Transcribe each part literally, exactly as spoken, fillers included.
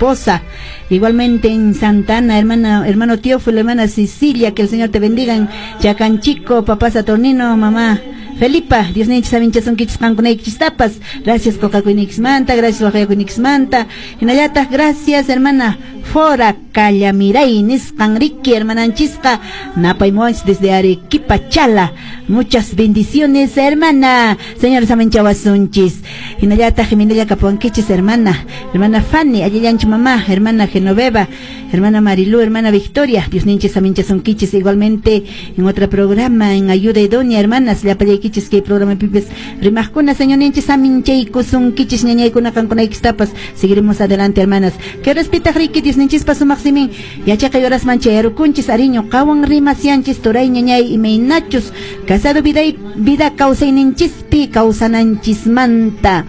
esposa. Igualmente en Santana, hermana, hermano Teófilo, hermana Cecilia, que el Señor te bendiga. En Chacanchico, papá Saturnino, mamá Felipa, Diosninchis saminchasunkichis qankunaykichistapas. Gracias manta, gracias manta. Hinallataq, gracias hermana Fora Callamiray nisqan riki hermananchisqa napaymuwanchis desde Arequipa, Chala. Muchas bendiciones, hermana. Señor saminchawasunchis. Hinallataq Jimenella kapuwankichis, hermana. Hermana Fanny, allillanchu mamá, hermana Genoveva, hermana Marilú, hermana Victoria. Diosninchis saminchasunkichis. Igualmente en otro programa, en Ayuda Idónea, hermanas, llapallaykichis kay programa pipis rimaqkuna, señorninchis saminchaykusunkichis ñañaykuna qankunaykistapas. Seguiremos adelante, hermanas. Que respetaq riki Diosninchispa sumaq simin yachaqay horasman chayarukunchis ariño qawan rimasianchis turay ñañay imaynachus casado vida vida kawsayninchispi kawsananchismanta,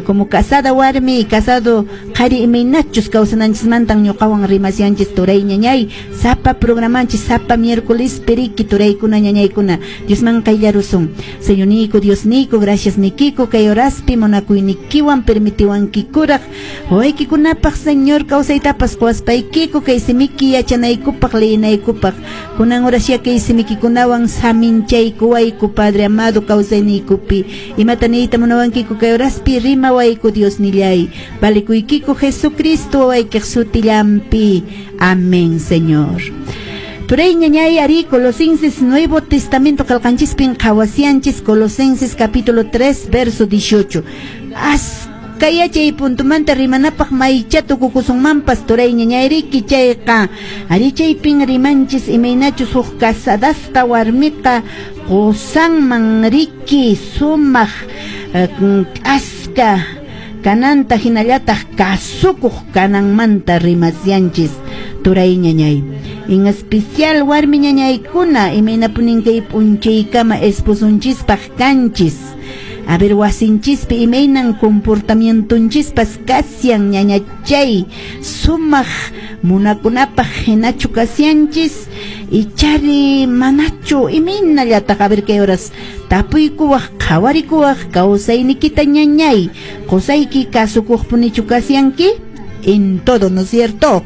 como casada warmi casado qhari imaynachus kawsananchismantan ñuqawan rimasianchis turay ñañay sapa programanchis sapa miércoles periki turaykuna ñañaykuna Diosman qayllarusun. Señornico, Diosnico, gracias nikiko kay horaspi munakuynikiwan permitiwankikuraq wawaykikunapaq Señor kawsaytapas quwaspaykiku kay simiki yachanaykupaq leynaykupaq kunan horasya kay simikikunawan saminchaykuwayku Padre amado kawsayniykupi imata niyta munawankiku kay horaspi rimawayku Diosnillay valikuykiku Jesucristo wawaykiq sutillampi. Amén, Señor. Turay ñañay ari Colosenses Nuevo Testamento qalqanchispin qhawasianchis Colosenses capítulo tres verso dieciocho. As kayachay puntumanta rimanapaq maycha tukukusunmanpas turay ñañayriki chayqa ari chaypin rimanchis imaynachus huk casadasqa warmiqa qusanman riki sumaq k'aska kananta hinallataq kasukuq kananmanta rimasianchis turay ñañay. En especial warmi ñañaykuna imaynapunin kay p'unchaykama esposunchispaq kanchis. A ver, wasinchispi imaynan comportamientonchispas kasian ñañachay sumaq munakunapaq hinachu kasianchis ichari manachu imaynallataq. A ver kay horas tapuykuwaq qhawarikuwaq kawsaynikita ñañay qusayki kasukuqpunichu kasianki en todo, ¿no es cierto?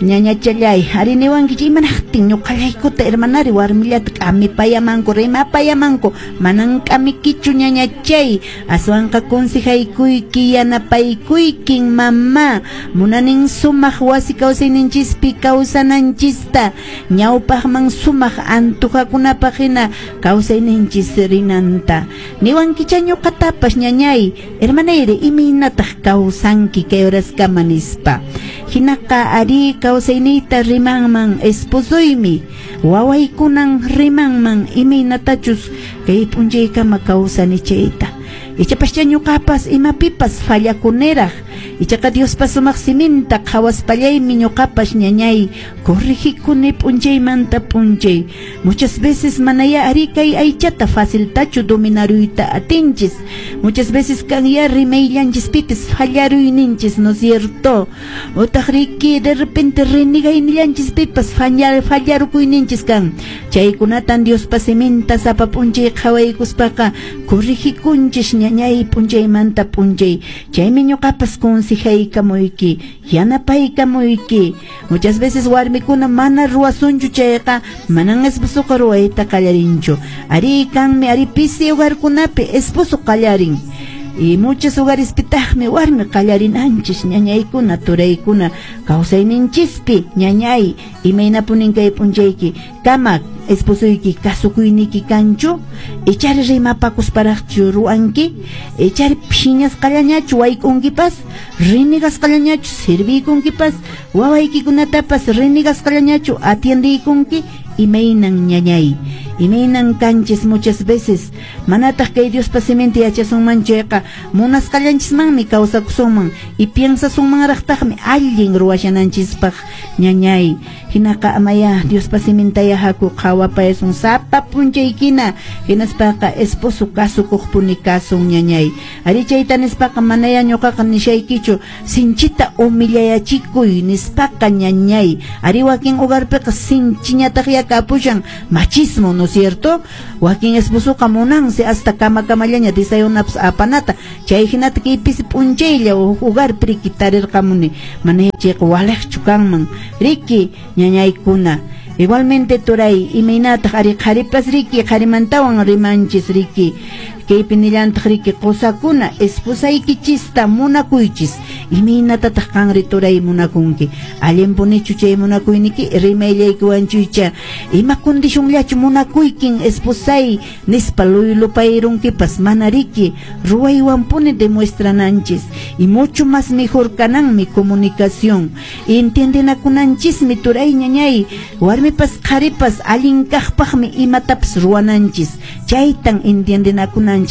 Ñañachallay, ariniwankichik imanaqtin ñuqallaykuta hermanari warmillata k'amipayamanku rimapayamanku manan k'amikichu ñañachay aswanqa consejaykuyki yanapaykuykin mamá munanin sumaq wasi kawsayninchispi kawsananchista ñawpaqman sumaq antujakunapaq hina kawsayninchis rinanta niwankicha ñuqatapas ñañay hermanayri imaynataq kawsanki kay horaskama nispa hinaqa ari kawsayniyta rimanman esposoymi wawaykunan rimanman imaynatachus kay p'unchaykama kawsani chayta ichapascha ñuqapas imapipas fallakuniraq ichaqa Diospa sumaq siminta qhawaspallaymi ñuqapas ñañay corregikuni p'unchaymanta p'unchay. Muchas veces manaya ari kay aychata faciltachu dominaruyta atinchis. Muchas veces kanya rimayllanchispipis fallaruyninchis, ¿no es cierto? Otaq riki de repente renegaynillanchispipas fallar fallarukuyninchis kan chaykunatan Diospa siminta sapa p'unchay qhawaykuspaqa corregikunchis ñañay p'unchaymanta p'unchay chaymi ñuqapas consejaykamuyki yanapaykamuyki. Muchas veces warmikuna mana ruwasunchu chayqa manan esposoqa ruwayta qallarinchu ari kanmi ari pisi hogarkunapi esposo qallarin y muchos hogarespitaqmi warmi qallarinanchis ñañaykuna turaykuna kawsayninchispi ñañay imaynapunin kay p'unchayki kama esposoyki kasukuyniki kanchu ichari rimapakusparaqchu ruwanki ichari phiñasqallañachu wayk'unkipas rinigasqallañachu sirviykunkipas wawaykikunatapas rinigasqallañachu atiendiykunki imaynan ñañay imaynan kanchis muchas veces manataq kay Diospa siminta yachasunman chayqa munasqallanchismanmi kawsakusunman y piensasunmanraqtaqmi allin ruwashananchispaq ñañay hinaqa amaya Diospa simintaya haku qhawapayasun sapa p'unchaykina hinaspaqa esposo kasukuqpuni kasun ñañay ari chayta nispaqa manaya ñuqaqa nishaykichu sinchita humillayachikuy nispaqa ñañay ari wakin hogarpiqa sinchiñataq yakapushan machismo, ¿no? cierto? Wakin esposoqa munansi hasta kama kamallaña desayunapas apanata, chay hinata kaypisi p'unchaylla hogarpi riki tarirqamuni, mana chayqa waliqchu kanman riki ñañaykuna. Igualmente turay imaynataq ari qharipas riki qharimantawan rimanchis riki kaypi nillantaq riki qusakuna esposaykichista munakuychis, imaynatataq qanri turay munakunki, allinpunichu chay munakuyniki rimayllaykiwanchuycha ima condicionllachu munakuykin esposay nispa luylupayrunkipas mana riki ruwaywanpuni demuestrananchis, y mucho más mejor kananmi comunicación, entiendenakunanchismi turay ñañay, warmipas qharipas allin kaqpaqmi imatapas ruwananchis, chaytan entiendenakunanchis.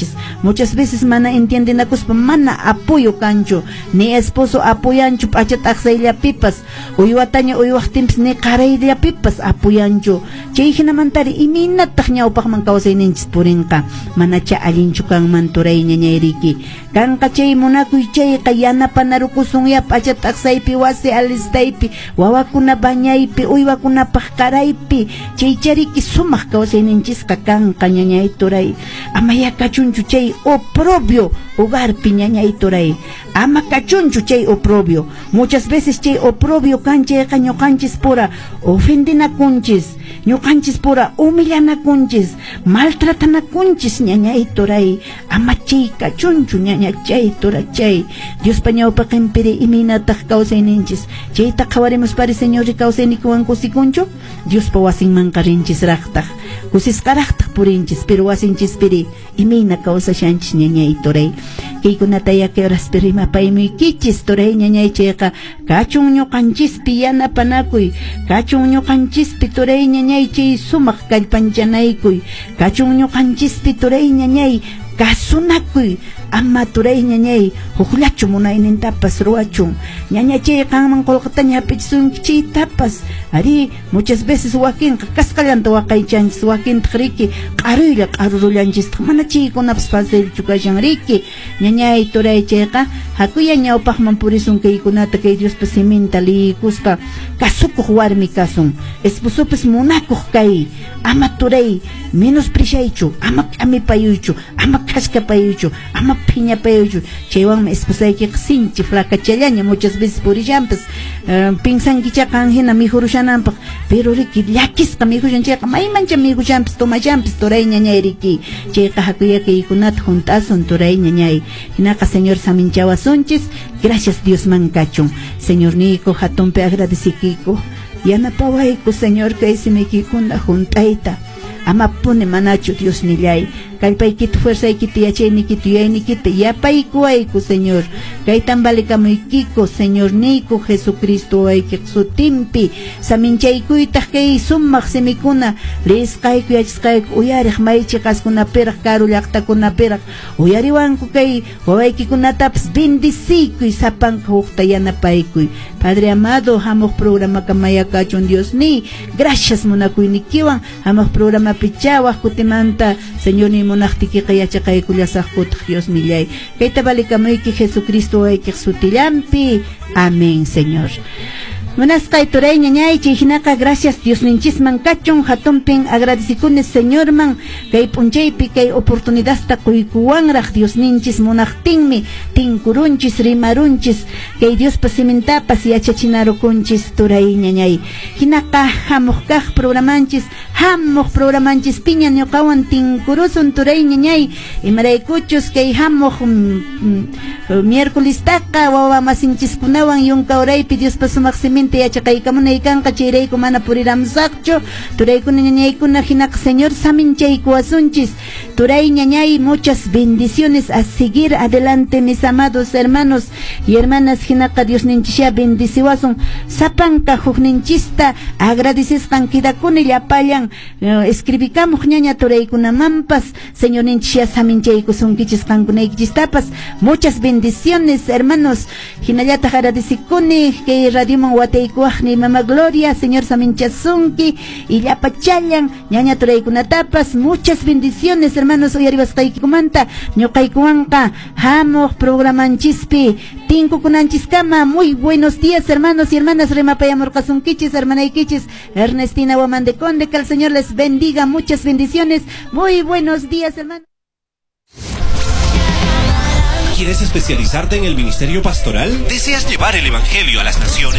Muchas veces mana entiendenakuspa mana apoyo kanchu, ni esposo apoyanchu p'acha t'aqsayllapipas, uywataña uywaqtinpas ni qarayllapipas apoyanchu, chay hinamantari imaynataq ñawpaqman kawsayninchis purinqa, manacha allinchu kanman turay ñañay riki, kanqa chay munakuy chayqa yanapanarukusunya p'acha t'aqsaypi wasi alistaypi wawakuna bañaypi uywakunapaq qaraypi, chaychariki sumaq kawsayninchisqa kanqa ñañay turay, amaya kachunchu chay oprobio hogarpi ñañay turay, ama kachunchu chay oprobio, muchas veces chay oprobio kan chayqa ñuqanchis pura ofendinakunchis, ñuqanchis pura humillanakunchis, maltratanakunchis ñañay turay, ama chay kachunchu ñañachay turachay, Diospa ñawpaqinpiri imaynataq kawsayninchis, chayta qhawarimuspari Señor kawsayniykiwan kusikunchu, Diospa wasinmanqa rinchisraqtaq, kusisqaraqtaq purinchis, pero wasinchispiri imayna kawsashanchis ñañay turay, kaykunata yaki horaspi rimapaymuykichis turay ñañay chayqa kachun ñuqanchispi yanapanakuy, kachun ñuqanchispi turay ñañay chay sumaq kallpanchanaykuy, kachun ñuqanchispi turay ñañay kasunakuy, ama turay ñañay hukllachu munaynintapas ruwachun, ñañachay qanman qullqitaña hap'ichisunki chaytapas, ari muchas veces wakinqa kasqallanta waqaychanchis, wakintaq riki q'aruylla q'arurullanchistaq, mana chaykunapas facilchu kashan riki ñañay turay chayqa hakuya ñawpaqman purisun kaykunata kay Diospa siminta liykuspa kasukuq warmi kasun, esposopas munakuq kay, ama turay menospreciaychu, ama k'amipayuychu, ama khaskapayuychu, ama phiñapayuychu, chaywanmi esposaykiqa sinchi flacachallaña muchas veces purishanpas, uh, pinsankicha qan hina mikhurushananpaq, pero riki llakisqa mikhushan chayqa maymancha mikhushanpas tomashanpas turay ñañay riki, chayqa hakuya kaykunata hunt'asun turay ñañay, hinaqa Señor saminchawasunchis, gracias Diosman kachun, Señor niyku hatunpi agradecikiyku, yanapawayku Señor kay simiykikuna hunt'ayta, ama puni manachu Dios nillay, kallpaykita fuerzaykita yachayniykita yuyayniykita yapaykuwayku Señor, kaytan valekamuykiko Señor niyku Jesucristo waykiq sutinpi, saminchaykuytaq kay sumaq simikuna liyisqayku yachasqayku uyariq maychiqaskunapiraq karu llaqtakunapiraq uyariwanku kay wawaykikunatapas bendiciykuy sapanka hukta yanapaykuy, Padre amado hamuq programa kamayakachun Dios niy, gracias munakuynikiwan hamuq programa pichawaq kutimanta Señor ni munaqtikiqa yachaqaykullasaqkutaq Dios nillay, kayta valekamuyki Jesucristo waykiq sutillanpi, amén Señor. Munasqay turay ñañay chay hinaqa gracias Diosninchisman kachun hatunpin agradecikuni Señorman kay p'unchaypi kay oportunidadta quykuwanraq Diosninchis munaqtinmi tinkurunchis rimarunchis kay Diospa simintapas yachachinarukunchis turay ñañay, hinaqa hamuq kaq programanchis hamuq programanchis piña ñuqawan tinkurusun turay ñañay, imaraykuchus kay hamuq mm, miércolestaqa wawa masinchiskunawan yunka uraypi Diospa sumaq siminta yachaqaykamunay kanqa chayrayku mana puriramsaqchu turaykuna ñañaykuna hinaqa Señor saminchaykuwasunchis turay ñañay, muchas bendiciones a seguir adelante mis amados hermanos y hermanas, hinaqa Diosninchishá bendiciwasun sapanka hukninchista agradecesqan quedakuni llapallan escribikamuq ñaña turaykunamanpas Señorninchishá saminchaykusunkichis qankunaykichistapas, muchas bendiciones hermanos, hinallataq agradecikuni kay radioman Atiykuwaqniy mama Gloria, Señor saminchasunki y llapachallan ñaña turaykunatapas. Muchas bendiciones, hermanos, uyariwasqaykikumanta. Ñuqaykuwanqa hamuq programanchispi tinkukunanchiskama. Muy buenos días, hermanos y hermanas. Rimapayamurqasunkichis hermanaykichis Ernestina Guamán de Conde. Que el Señor les bendiga, muchas bendiciones. Muy buenos días, hermanos. ¿Quieres especializarte en el ministerio pastoral? ¿Deseas llevar el evangelio a las naciones?